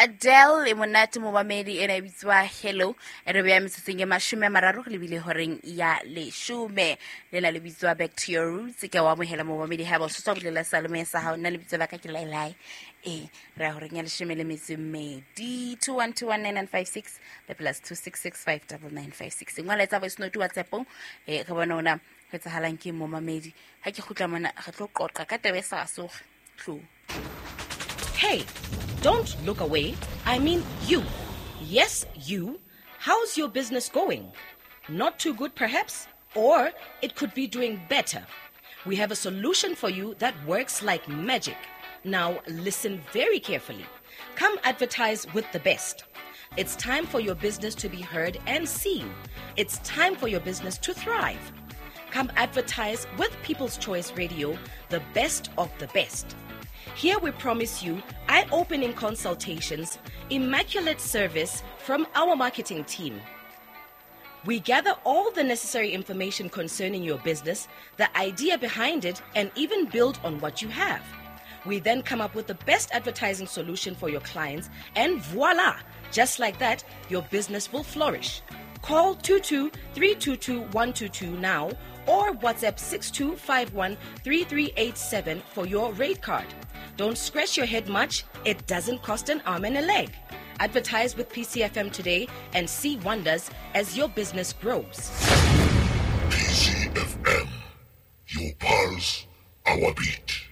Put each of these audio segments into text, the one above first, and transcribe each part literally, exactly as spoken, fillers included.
Adele e monate momamedi ena e bitswa Hello e re beya metsotsong e mashome a mararo re lebile horeng ya leshome lena le bitswa Back to Your Roots. Ke wa amohela momamedi ha ba o tswa bolela salome sa hao, nna lebitso la ka ke Lailai. E re ya horeng ya leshome le metso e mmedi two one two one nine nine five six le plus two six six five double nine five six. Ngwala etsa voice note WhatsApp-ong, eh re bona ona ho etsahalang ke momamedi. Ha ke kgutla mona re tlo qoqa ka taba e sa soge. Tlo. Hey, don't look away. I mean you. Yes, you. How's your business going? Not too good, perhaps? Or it could be doing better. We have a solution for you that works like magic. Now, listen very carefully. Come advertise with the best. It's time for your business to be heard and seen. It's time for your business to thrive. Come advertise with People's Choice Radio, the best of the best. Here we promise you eye-opening consultations, immaculate service from our marketing team. We gather all the necessary information concerning your business, the idea behind it, and even build on what you have. We then come up with the best advertising solution for your clients, and voila! Just like that, your business will flourish. Call two two three two two one two two now or WhatsApp six two five one three three eight seven for your rate card. Don't scratch your head much. It doesn't cost an arm and a leg. Advertise with P C F M today and see wonders as your business grows. P C F M, your pulse, our beat.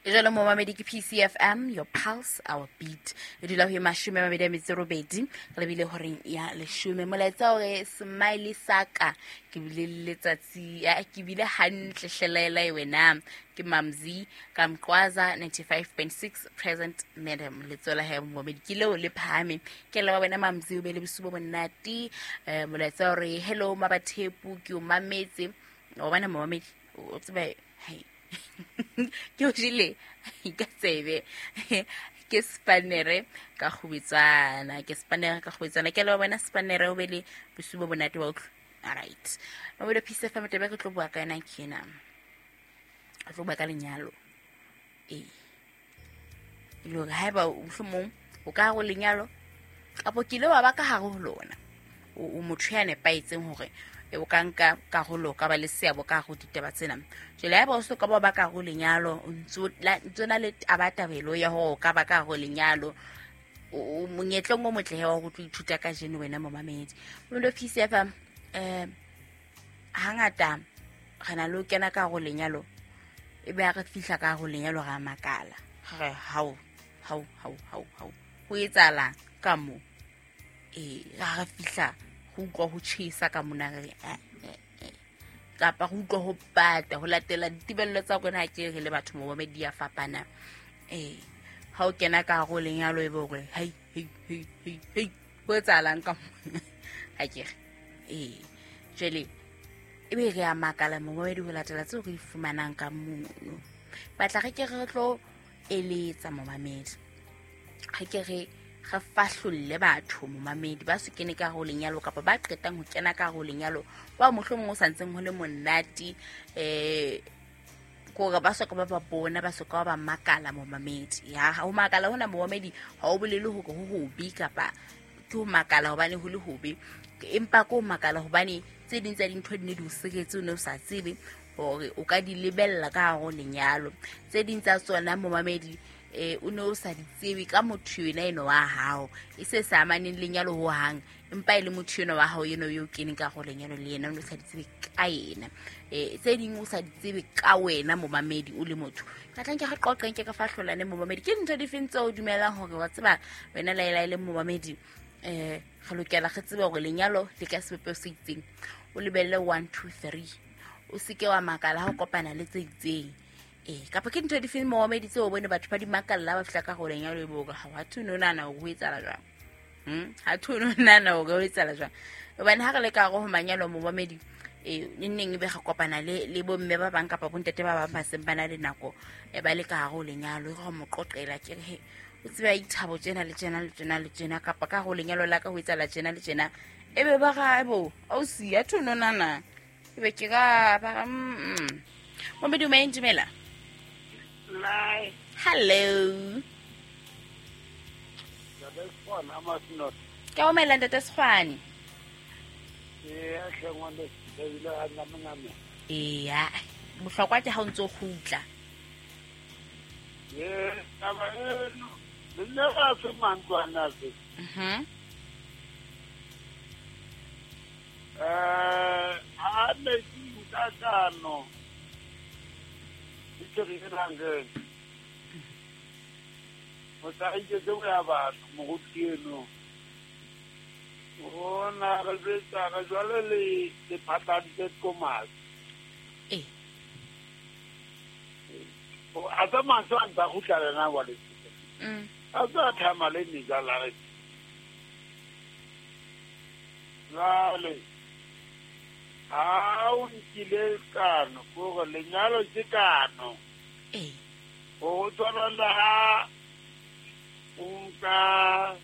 Jalo momamedi ke P C F M, your pulse, our beat. E dula ho e mashome a mabedi a metso e robedi, re lebile horeng ya leshome. Molaetsa o re smiley saka, ke bile le letsatsi, ya, ke bile hantle hlelaela e wena. Ke Mamzi ka Mqwaza ninety-five point six present madam. Letsola he momamedi ke leo le phahame. Ke leboha wena Mamzi, o be le bosiu bo monate. Eh, molaetsa o re hello Mabathepu, ke o mametse. O bona momamedi, o tsebe hai. Ke o jele ka tsebe ke spanere ka kgubetsana, ke spanere ka kgubetsana. Ke leboha wena spanere, o be le bosiu bo monate wa utlwa. All right. Mabelo P C F M taba ke tlo bua ka yona ke ena. Re tlo bua ka lenyalo. Ee. E le hore haeba mohlomong o ka hare ho lenyalo kapa o kile wa ba ka hare ho lona, o, o motho ya nepahetseng hore e o ka nka karolo, ka ba le seabo ka hare ho ditaba tsena. Jwale haeba o so ka ba ba ka hare ho lenyalo, o ntso la, ntso na le tabatabelo ya hore o ka ba ka hare ho lenyalo, o, o monyetleng o motle he wa ho tlo ithuta kajeno wena momamedi. Mabelo P C F M, eh, hangata re na le ho kena ka hare ho lenyalo, e be ha re fihla ka hare ho lenyalo ra makala. Re hao, hao, hao, hao, hao. Ho etsahalang ka moo? Eh, ha re fihla ho utlwa ho tjhesa ka mona, re re, eh, eh, eh. Kapa ho utlwa ho pata, ho latela ditebello tsa rona ha ke re le batho momamedi ya fapana. Eh, ha o kena ka hare ho lenyalo e be hore, hei, hei, hei, hei, hei, ho etsahalang ka moo? Ha ke re. Eh, jwale e be re a makala momamedi ho latela tseo re di fumanang ka mono. Batla re ke re tlo eletsa momamedi. Re ke re re fahlolle batho momamedi ba se kene ka hare ho lenyalo kapa ba qetang ho kena ka hare ho lenyalo, ba mohlomong o sa ntseng ho le monate, eh, kore ba soka ba ba bona, ba soka ba ba makala momamedi. Ya, ho makala hona momamedi ha o bolele hore ho hobe kapa ke ho makala hobane ho le hobe, empa ke ho makala hobane tse ding tsa dintho di ne di o siretse, o ne o sa tsebe hore o ka di lebella ka hare ho lenyalo. Tse ding tsa tsona momamedi, eh, o ne o sa di tsebe ka motho yena eno wa hao, e se sa amaneng lenyalo ho hang, empa e le motho eno wa hao eno eo keneng ka hare ho lenyalo le yena, o ne o sa di tsebe ka yena. Eh, tse ding o sa di tsebe ka wena momamedi o le motho. Ka tla nke re qoqeng, ke ka fahlolane momamedi. Ke dintho difeng tseo o dumelang hore wa tseba wena Laila e le momamedi, eh, re lokela re tsebe hore lenyalo le ka sebopeho se itseng. O lebelle one two three, o seke wa makala ha o kopana le tse itseng. Eh, kapa ke ntho difeng momamedi tseo o bone batho ba di makalla ba fihla ka hore lenyalo e bo hore ha thwe no nahana hore ho etsahala jwang? Hmm? Ha thwe no nahana hore ho etsahala jwang? Hobane ha re le ka hare ho manyalo momamedi, eh, neng neng e be re kopana le, le bomme ba bang kapa bontate ba bang ba seng ba na le nako, eh, ba le ka hare ho lenyalo, e re ho mo qoqela ke re, he, o tseba ithabo tjena le tjena le tjena le tjena, kapa ka hare ho lenyalo la ka ho etsahala tjena le tjena. E be ba ra, ebo, ausi, ha thwe no nahana. E be ke ra, ba ra, mm, mm. Momamedi, o maeng, dumela. Hi. Hello. Sekgwane a Masinot. Ke o maela ntate Sekgwane. Ee, a hle ngwane ebile a namename. Eya, bohlokwa ke ha o ntso kgutla. Ee, taba eno le nna ga se mantlwana se. Mhm. Eh, ha ne ke ntatano. Ke re rangeng. O tla iketse o ya batho moruti eno. Ona re betsa re jwale le le phatantse komasi. Eh. O a tsa mantswe a ntsa kgutla le na wa le. Mm. A tsa thama le ni ja la re. Jwale ha o nkile kano gore lenyalo ke kano. Eh. O tshwana le ha o nka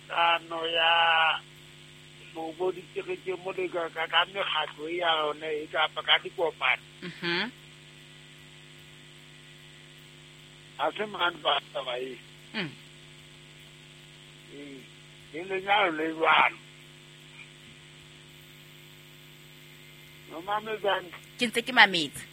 kano ya bo dikerekeng mo le ka ka mekgatlo ya yone e kapa ka dikopano. Mhm. A se mang ba taba e. Mm. Ee, le lenyalo le jwalo. No mametsang. Ke ntse ke mametse.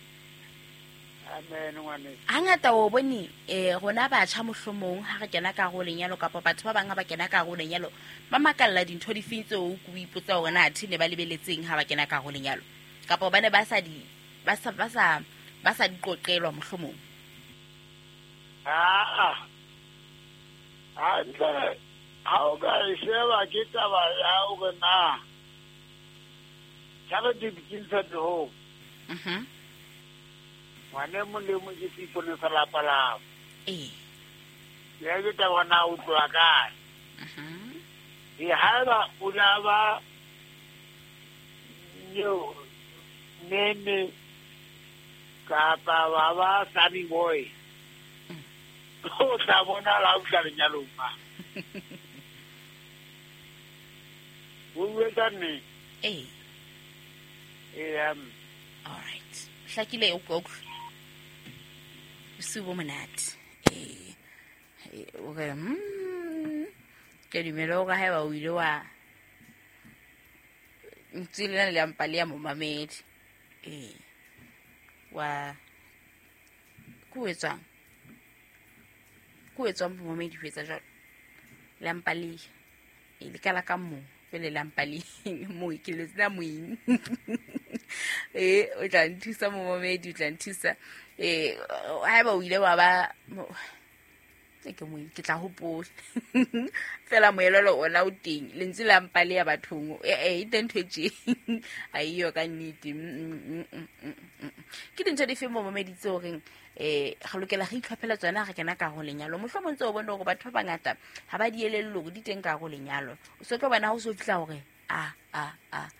Amen ngwane. Hangata o bone eh rona batjha mohlomong ha re kena ka go lenyalo kapa batho ba bang ha ba kena ka go lenyalo ba makalla dintho di feng tseo o ipotsa hore na athe ne ba lebeletseng ha ba kena ka go lenyalo kapa ba ne ba sa di ba sa ba sa ba sa di qoqelwa mohlomong. Ah. Hantle ha o ka e sheba ke taba ya hore na charity begins at home. Mhm. Ngwane mong le mong ke seipone sa lapa lao. Eh. Ya ke taba na o tloha kae. Mhm. E haeba o la ba nyo nene kapa wa ba sunny boy. O tla bona la o tla lenyalong ma. O bua nne. Eh. Eh, um all right. Hlakile o go. Bosiu bo monate. Eh. O re mm ke dumela hore haeba o ile wa ntse le le mpa le ya momamedi. Eh. Wa ku etsang? Ku etsang momamedi ho etsa jwalo? Le mpa le e le kala ka mo pele la mpa le mo ke le tsena moeng. Eh o tla nthusa momamedi o tla nthusa. Eh haeba o ile wa ba ke moeng ke tla hopola. Fela moelelo ona o teng lentse la mpa le ya bathong eh e teng ntho e tje a iyo ka nnete. Ke dintho di fe momamedi tse horeng eh re lokela re itlhophela tsona re kena ka go lenyalo mohlomong tse o bone hore batho ba bangata ha ba di elellwe hore di teng ka go lenyalo o se tlo bona ha o so fihla hore a a a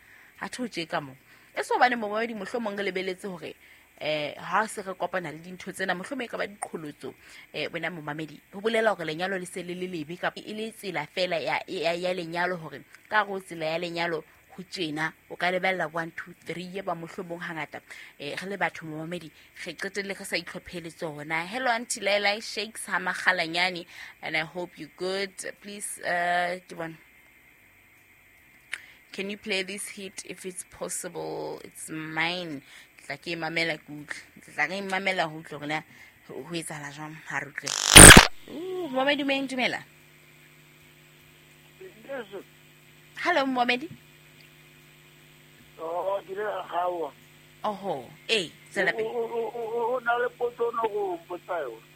ha tho tje ka mo e so bane momamedi mohlomong re lebeletse hore eh ha se re kopana le dintho tsena mohlomong e ka ba diqholotso eh wena momamedi ho bolela hore lenyalo le se le le lebe kapa e le tsela fela ya ya lenyalo hore ka go tsela ya lenyalo ho tjena o ka lebella one two three ye ba mohlomong hangata eh re le batho momamedi re qetelle re sa itlhophele tsona. Hello Auntie Laila Shakes ha Makgalanyane and I hope you good. Please uh ke bona can you play this hit if it's possible? It's mine. Tla ke mamela ke utlwe. Tla ke mamela ho utlwe hore na ho etsahala jwang ha re utlwe. Uh, momamedi meng dumela. Hello momamedi. Oh, ke le gawa. Oho, eh, tsela pele. O na le potso no go mpotsa yona.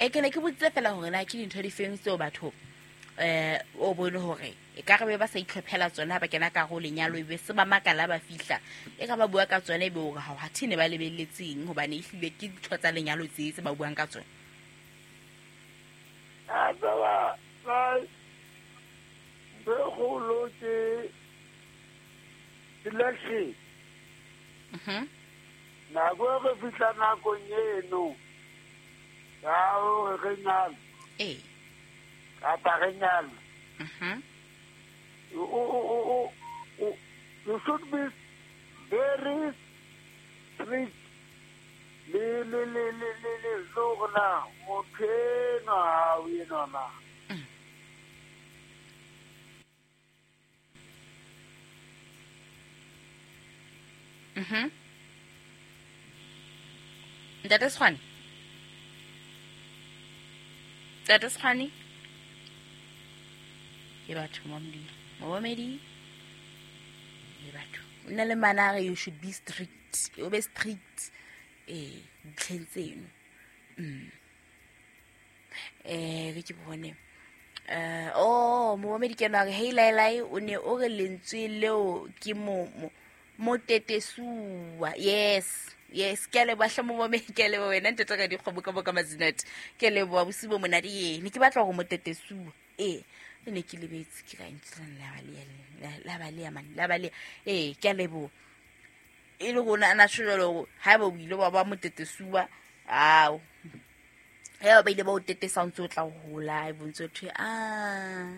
E ke ne ke botsitse fela hore na ke dintho di feng tseo batho eh o bone hore e ka re ba sa itlhophela tsona ba kena ka go lenyalo ebe se ba makala ba fihla e ka ba bua ka tsona ebe hore ha ha thene ba lebelletseng hobane e hlile ke dintho tsa lenyalo tse tse ba buang ka tsona. A ba ba be go lo ke selection. Mhm. Nako e re fihla nakong eno ya hore re nyale. Eh. Kapa re nyale. Mhm. You, you, you, you should be very strict. Le le le le le le zona motho enwa ha o enwa na. Mhm. Ntate Sekgwane, ntate Sekgwane, ke batho momedi, momedi le batho o na le mana a re you should be strict, o be strict ee ditlheng tseno. Mm. Eh re ke bone eh oh momedi ke ena a re hey lailai, o ne o re lentswe leo ke mo mo motetesuwa. Yes, yes, ke a leboha hle momamedi, ke a leboha wena ntate ka dikgomo ka boka mazinate, ke a leboha bosiu bo monate. Ee, ne ke batla hore motetesuwa, ee e ne ke lebetse ke ka ntleng la balea la balea man la balea. Ee, ke a leboha e le rona ana tjho jwalo hore haeba o ile wa ba motetesuwa, ao haeba ba ile ba o tetesa o ntso o tla hola e bontse ho thwe ah.